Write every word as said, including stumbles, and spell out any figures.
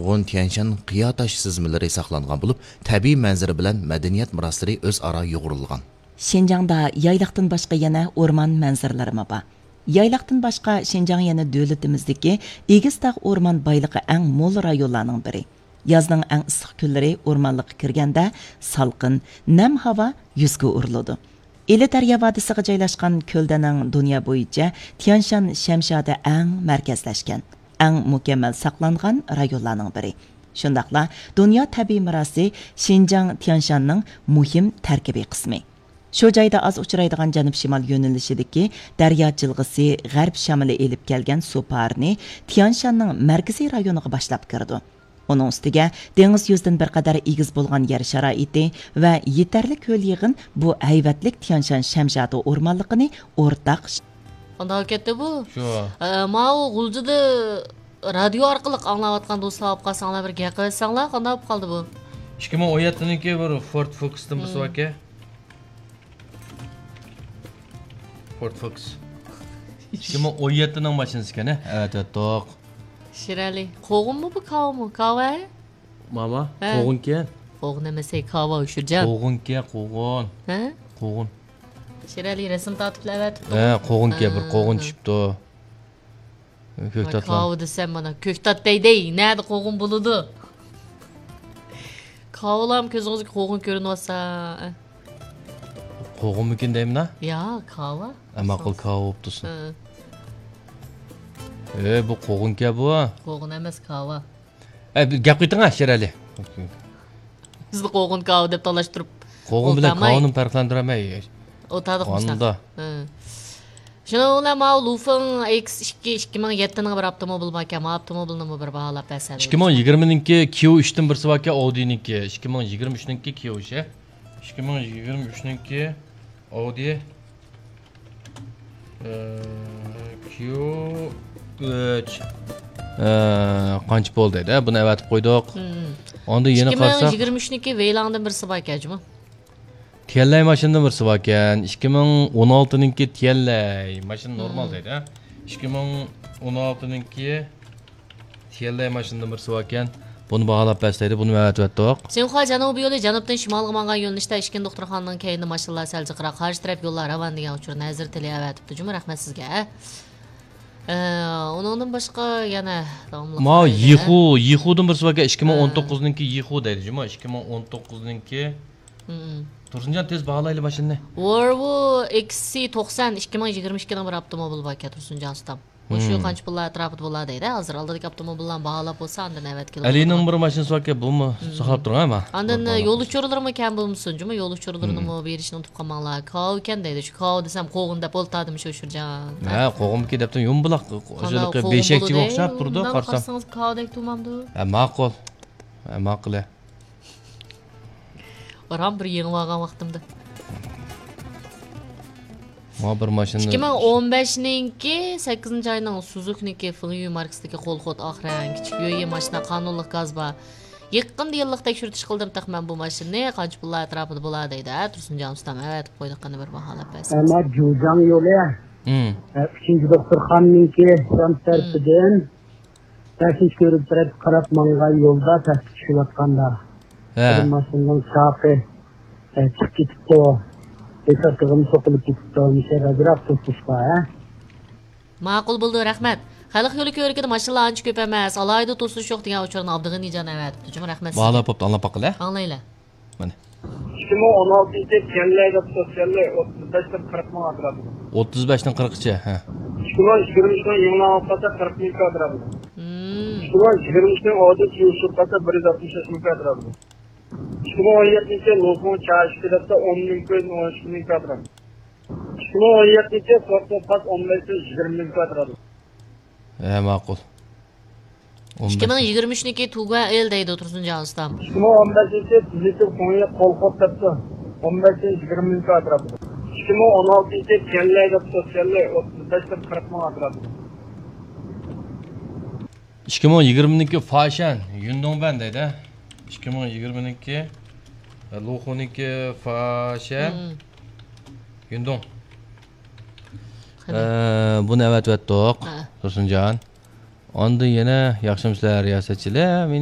نۇرغۇن تيەنشان قىيا تاش سىزمىلىرى ساقلانغان بولۇپ، تەبىئىي مەنزىرە بىلەن مەدەنىيەت مىراسلىرى ئۆزئارا يۇغۇرۇلغان. شىنجاڭدا يايلاقتىن باشقا يەنە ئورمان مەنزىرىلىرىمۇ بار. يايلاقتىن باشقا، شىنجاڭ يەنە دۆلىتىمىزدىكى ئېگىز تاغ ئورمان بايلىقى ئەڭ مول رايونلارنىڭ بىرى. يازنىڭ ئەڭ ئىسسىق كۈنلىرى ئورمانلىققا كىرگەندە، سالقىن، نەم ھاۋا يۈزگە ئۇرۇلىدۇ. ئىلى دەريا ۋادىسىغا جايلاشقان كۆلدەنەڭ دۇنيا بويىچە تيانشان شەمشادى ئەڭ مەركەزلەشكەن، ئەڭ مۇكەممەل ساقلانغان رايونلارنىڭ بىرى. شۇنداقلا دۇنيا تەبىئىي مىراسى شىنجاڭ تيانشاننىڭ مۇھىم تەركىبىي قىسمى. شۇ جايدا ئاز ئۇچرايدىغان جەنۇب-شىمال يۆنىلىشىدىكى دەريا جىلغىسى غەرب شامىلى ئېلىپ كەلگەن سۇ پارىنى تيانشاننىڭ مەركىزىي رايونىغا باشلاپ كىرىدۇ. ئۇنىڭ ئۈستىگە دېڭىز يۈزىدىن بىر قەدەر ئېگىز بولغان يەر شارائىتى ۋە يېتەرلىك ھۆل-يېغىن بۇ ھەيۋەتلىك تيانشان شەمشادى ئورمانلىقىنى ئورتاق قانداق كەتتى بۇ؟ شۇ. ئە، ماۋۇ غۇلجىدا رادىيو ئارقىلىق ئاڭلاۋاتقان دوستلار ئاپ قالساڭلار، بىر گەپ قىلىۋەتسەڭلار، قانداق بولۇپ قالدى بۇ؟ ئىككى مىڭ ئون يەتتىنىڭكى بىر فورد فوكستىن بىرسى باركەن. فورد فوكس. ئىككى مىڭ ئون يەتتىنىڭ ماشىنىسى ئىكەن، ھە؟ ئەۋەتىۋەتتۇق. شىرئەلى، قوغۇنمۇ بۇ، كاۋىمۇ؟ كاۋا، ھە؟ ماما، ھە. قوغۇنكەن. قوغۇن ئەمەس، ھەي، كاۋا، ئۆچۈرجان. قوغۇنكەن، قوغۇن. ھە؟ قوغۇن. شىرئەلى رەسىم تارتىپلا ئەۋەتىپتۇ. ھە، قوغۇنكەن، بىر ھە. قوغۇن چۈشۈپتۇ. كۆكتاتلار. كاۋا دېسەم مانا، كۆكتات دەيدەي، نەدە قوغۇن بولىدۇ؟ كاۋىلارمۇ كۆزىڭىزگە قوغۇن كۆرۈنۈۋاتسا. قوغۇنمىكىن دەيمىنا؟ يا، كاۋا. ئە، ماقۇل، كاۋا بوپتۇ. ھە. ئە، بۇ قوغۇنكەن بۇ. قوغۇن ئەمەس، كاۋا. ئە، بىر گەپ قىلىۋېتىڭ، ھە، شېرئەلى. بىزنى قوغۇن كاۋا دەپ تالاشتۇرۇپ قوغۇن بىلەن ئولتۇرماي. كاۋىنى پەرقلەندۈرەلمەي. ئولتۇردۇق مۇشۇنداق. ھە. شۇنىڭ بىلەن ماۋۇ لۇفېڭ ئېكس ئىككى، ئىككى مىڭ يەتتىنىڭ بىر ئاپتوموبىلى باركەن. ماۋۇ ئاپتوموبىلنىمۇ بىر باھالاپ بەرسەڭلار. ئىككى مىڭ يىگىرمىنىڭكى كيۇ ئۈچتىن بىرسى باركەن، ئاۋدىنىڭكى. ئىككى مىڭ يىگىرمە ئۈچنىڭكى كيۇ ئۈچ، ھە؟ ئىككى مىڭ يىگىرمە ئۈچنىڭكى ئاۋدى. ئە، كيۇ ئۈچ. ئە، قانچە بولدى دە؟ بۇنى ئەۋەتىپ قويدۇق. مم. ئاندىن يەنە قارىساق، ئىككى مىڭ يىگىرمە ئۈچنىڭكى ۋېيلاڭدىن بىرسى باركەن جۇمۇ. تيەنلەي ماشىنىدىن بىرسى باركەن. ئىككى مىڭ ئون ئالتىنىڭكى تيەنلەي ماشىنا نورمال دەيدۇ، ھە؟ ئىككى مىڭ ئون ئالتىنىڭكى تيەنلەي ماشىنىدىن بىرسى باركەن. بۇنى باھالاپ بەرسەيدى، بۇنى ئەۋەتىۋەتتۇق. سىنخۇا جەنۇبىي يولى جەنۇبتىن شىمالغا ماڭغان يۆنىلىشتە ئىشكىن دوختۇرخانىنىڭ كەينىدە ماشىنىلار سەل جىقراق، قارشى تەرەپ يوللار راۋان دېگەن ئۇچۇرنى ھەزرىتى ئېلى ئەۋەتىپتۇ جۇمۇ، رەھمەت سىزگە. ئە، ئۇنىڭدىن باشقا يەنە داۋاملىق ماۋۇ قارايلى. يىخۇ، يىخۇدىن بىرسى باركەن، ئىككى مىڭ ئون توققۇزنىڭكى يىخۇ دەيدۇ جۇمۇ، ئىككى مىڭ ئون توققۇزنىڭكى. مم. تۇرسۇنجان، تېز باھالايلى ماشىنىنى. ۋولۋو ئېكس سى توقسان، ئىككى مىڭ يىگىرمە ئىككىنىڭ بىر ئاپتوموبىلى باركەن، تۇرسۇنجان ئۇستام. مۇشۇ مم. قانچە پۇللار ئەتراپىدا بولا دەيدۇ. ھازىر ئالدىدىكى ئاپتوموبىللارنى باھالاپ بولسا، ئاندىن ئەۋەتكىلى بولىدۇ. ئەلىنىڭ بىر ماشىنىسى باركەن، بۇمۇ مم. ساقلاپ تۇرغان، ھە؟ ئاندىن يول ئۇچۇرلىرىمۇ كەم بولمىسۇن جۇمۇ، يول ئۇچۇرلىرىنىمۇ مم. بېرىشنى ئۇنتۇپ قالماڭلار. كاۋىكەن دەيدۇ، شۇ كاۋا دېسەم قوغۇن دەپ ئولتۇردىم شۇ ئۇچۇرجان. ھە، قوغۇنمىكىن دەپتۇ، يۇمبىلاق، قانداق قوغۇن بولىدۇ؟ بولۇشى ئوخشاپ تۇرىدۇ، قارىسام. قارىسىڭىز كاۋىدەك تۇرمامدۇ؟ ھە، ماقۇل. ھە، ماقۇل، ھە. رام بىر يېڭىپ ئالغان ۋاقتىمدا. ماڭا بىر ماشىنا. ئىككى مىڭ ئون بەشنىڭكى سەككىزىنچى ئاينىڭ سۇزۇكىنىڭكى فېڭيۈ ماركىسىدىكى قول خوت ئاق رەڭ كىچىك يۆيى ماشىنا قانۇنلۇق گاز بار. يېقىندا يىللىق تەكشۈرتۈش قىلدىم تېخى مەن بۇ ماشىنىنى. قانچە پۇللار ئەتراپىدا بولا دەيدۇ، ھە، تۇرسۇنجان ئۇستام ئەۋەتىپ قويدۇق، قېنى بىر باھالاپ بەرسىڭىز. ئەمما جۇجاڭ يولى، مم. ئە، ئۈچىنچى دوختۇرخانىنىڭكى يان تەرىپىدىن بەشىنچى كۆۋرۈك تەرەپكە قاراپ ماڭغان يولدا پەسكە چۈشۈۋاتقاندا، ھە. بىر ماشىنىنىڭ چاقى، ئە، چىقىپ كېتىپتۇ. بېساتىغىمۇ سوقۇلۇپ كېتىپتۇ. مۇشۇ يەردە ئازراق توسۇش بار، ھە. ماقۇل بولدى، رەھمەت. خەلق يولى كۆۋرۈكىدە ماشىنىلار ئانچە كۆپ ئەمەس، ئالاھىدە توسۇش يوق دېگەن ئۇچۇرنى ئابدۇغېنىجان ئەۋەتىپتۇ جۇمۇ، رەھمەت سىزگە. باھالاپ بوپتۇ، ئاڭلاپ باققىلى. ئاڭلايلى. مانا. ئىككى مىڭ ئون ئالتىنچى تيەنلەي دەپتۇ، تيەنلەي ئوتتۇز بەشتىن قىرىق مىڭ ئەتراپىدا. ئوتتۇز بەشتىن قىرىققىچە، ھە. ئىككى مىڭ يىگىرمە ئۈچنىڭ يىڭناڭ ئوتقاچە قىرىق مىڭ ئەتراپىدا. مم. ئىككى مىڭ يىگىرمە ئۈچنىڭ ئاۋدىسى يوشۇرقاچە بىر يۈز ئاتمىش بەش مىڭ ئەتراپىدا. ئىككى مىڭ ئون يەتتىنچى لۇفېڭ چا ئىككى دەپتۇ، ئون مىڭ كۆز ئون ئىككى مىڭ ئەتراپىدا. ئىككى مىڭ ئون يەتتىنچى فورد پاس ئون بەشتىن يىگىرمە مىڭ ئەتراپىدا. ھە، ماقۇل. ئون بەش. ئىككى مىڭ يىگىرمە ئۈچنىڭكى تۇگۇەن ئېل دەيدۇ تۇرسۇنجان ئۇستام. ئىككى مىڭ ئون بەشىنچى تۈزىتىپ خۇڭيې قول خوت دەپتۇ. ئون بەشتىن يىگىرمە مىڭ ئەتراپىدا. ئىككى مىڭ ئون ئالتىنچى تيەنلەي دەپتۇ، تيەنلەي ئوتتۇز بەشتىن قىرىق مىڭ ئەتراپىدا. ئىككى مىڭ يىگىرمىنىڭكى فاشەن يۈندۇڭبەن دەيدۇ. ئىككى مىڭ يىگىرمىنىڭكى لۇخۇنىڭكى فاشەن مم. يۈندۇڭ. قېنى. ئە، بۇنى ئەۋەتىۋەتتۇق، ھە. تۇرسۇنجان. ئاندىن يەنە ياخشىمۇسىلەر رىياسەتچىلەر؟ مېنىڭ